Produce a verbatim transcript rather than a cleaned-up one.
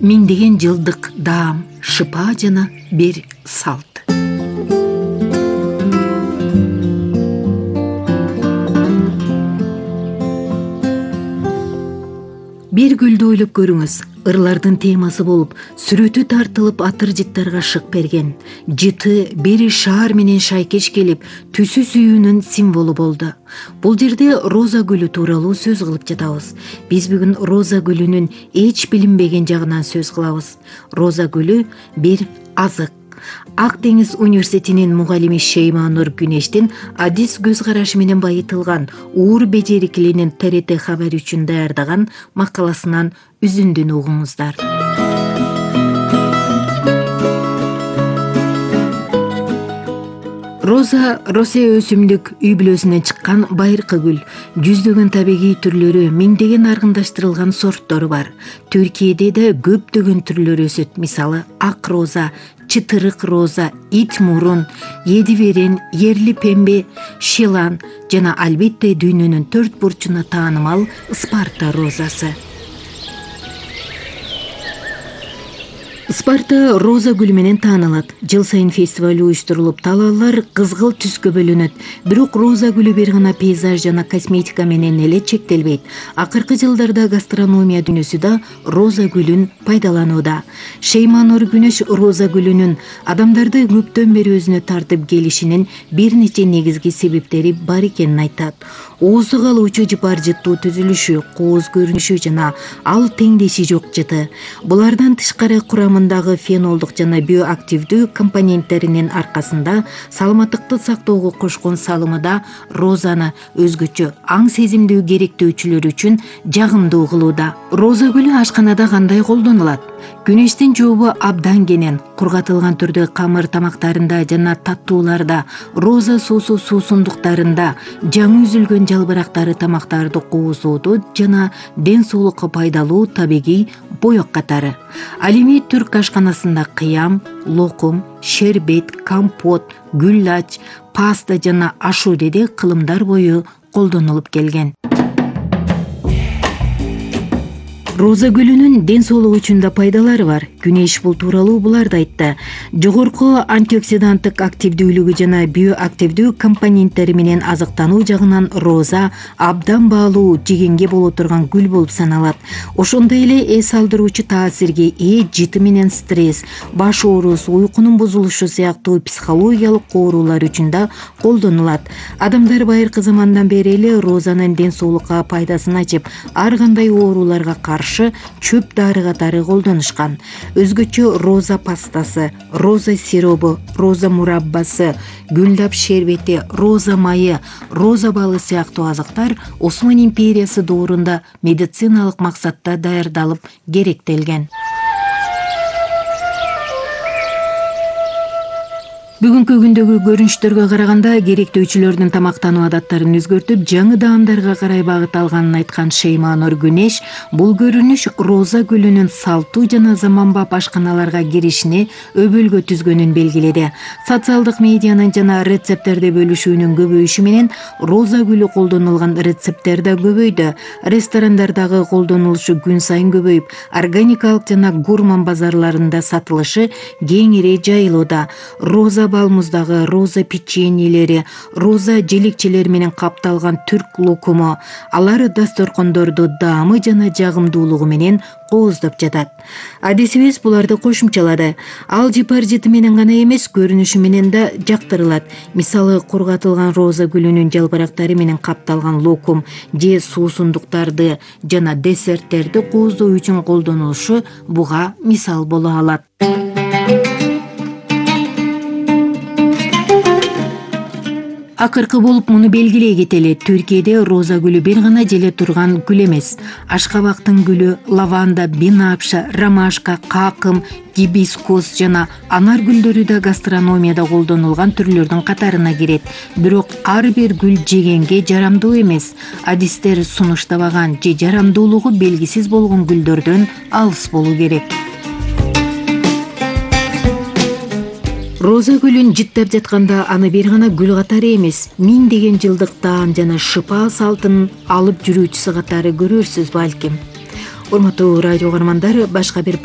Миңдеген жылдык даам, шыпа жана бир салт. Бир гүлдү ойлоп көрүңүз. Ырлардын темасы болуп, сүрөтү тартылып атыр жыттарга шык берген. Жыты бери шаар менен шайкеш келип, түсү сүйүүнүн символу болду. Бул жерде роза гүлү тууралуу сөз кылып жатабыз. Биз бүгүн роза гүлүнүн эч билинбеген жагынан сөз кылабыз. Роза гүлү бир азык. Ак Деңиз университетинин мугалими Шейманур Күнештин адис көз карашы менен байытылган уур бежерикленин Т Р Т хабар үчүн даярдаган макаласынан үзүндүн угуңуздар. Роза Россия өсүмдүк үй бүлөсүнөн чыккан байыркы гүл. Жүздөгөн табигый түрлөрү, миңдеген аргындаштырылган сорттору бар. Түркияде да көптөгөн түрлөр өсөт. Мисалы, ак роза, чытырык роза, ит мурун, еди верен, ерли пембе, шилан жана албетте дүйнөнүн төрт бурчуна таанымал Спарта розасы. Спарта роза гүлү менен таанылат. Жыл сайын фестиваль уюштурулуп, талаалар кызгыл түскө бөлүнөт. Бирок роза гүлү бир гана пейзаж жана косметика менен эле чектелбейт. Акыркы жылдарда гастрономия дүйнөсү да роза гүлүн пайдаланууда. Шейманур Күнеш роза гүлүнүн адамдарды көптөн бери өзүнө тартып келишинин бир нече негизги себептери бар экенин айтат. Оозду калуучу жыпар жыттуу түзүлүшү, кооз көрүнүшү жана ал теңдеши жок жыты. Булардан тышкары курамындагы фенолдук жана биоактивдүү компоненттеринин аркасында саламаттыкты сактоого кошкон салымы да розаны өзгөчө аң сезимдүү керектөөчүлөр үчүн жагымдуу кылууда. Роза гүлү ашканада кандай колдонулат? Күнештин жообу абдан кенен. Кургатылган түрдө камыр тамактарында жана таттууларда, роза суусу суусундуктарында, жаңы үзүлгөн жалбырактары тамактарды куузууда жана ден соолукка пайдалуу табигый боек катары. Ал эми түрк ашканасында кыям, локум, шербет, компот, гүллач, паста жана ашуреде кылымдар бою колдонулуп келген. Роза гүлүнүн ден соолук үчүн да пайдалары бар. Күнеш бул тууралуу буларды айтты. Жогорку антиоксиданттык активдүүлүгү жана биоактивдүү компоненттери менен азыктануу жагынан роза абдан баалуу жегенге боло турган гүл болуп саналат. Ошондой эле эс алдыруучу таасирге ээ жыты менен стресс, баш оорусу, уйкунун бузулушу сыяктуу психологиялык оорулар үчүн да колдонулат. Адамдар байыркы замандан бери эле розанын ден соолукка пайдасын ачып, ар кандай ооруларга каршы чөп дары катары колдонушкан. Өзгөчө роза пастасы, роза сиробу, роза мураббасы, гүлдап шербети, роза майы, роза балы сыяктуу азыктар Осман империясы доорунда медициналык максатта даярдалып керектелген. Бүгүнкү күндөгү көрүнүштөргө караганда керектөөчүлөрдүн тамактануу адаттарын өзгөртүп, жаңы даамдарга карай багыт алганын айткан Шейманур Күнеш бул көрүнүш роза гүлүнүн салттуу жана заманбап ашканаларга киришине өбөлгө түзгөнүн белгиледи. Социалдык медианын жана рецепттерди бөлүшүүнүн көбөйүшү менен роза гүлү колдонулган рецепттер да көбөйдү. Ресторандардагы колдонулушу күн сайын көбөйүп, органикалык жана гурман базарларында сатылышы кеңири жайылууда. Роза балмуздагы роза печеньелери, роза желекчелер менен капталган түрк локуму, алар дасторкондорду даамы жана жагымдуулугу менен кооздоп жатат. Адисибиз буларды кошумчалады. Ал жыпар жыты менен гана эмес, көрүнүшү менен да жактырылат. Мисалы, кургатылган роза гүлүнүн жалбырактары менен капталган локум же суусундуктарды жана десерттерди кооздоо үчүн колдонулушу буга мисал боло алат. Акыркы болуп муну белгилей кетели. Түркияде роза гүлү бир гана желе турган гүл эмес. Ашкабактын гүлү, лаванда, бинапша, ромашка, какым, гибискус жана анар гүлдөрү да гастрономияда колдонулган түрлөрдүн катарына кирет. Бирок ар бир гүл жегенге жарамдуу эмес. Адистер сунуштабаган же жарамдуулугу белгисиз болгон гүлдөрдөн алыс болуу керек. Роза гүлүн жыттап жатканда аны бир гана гүл катары эмес, миңдеген жылдык даам жана шыпа салтын алып жүрүүчүсү катары көрөрсүз балким. Урматтуу радио каармандар, башка бир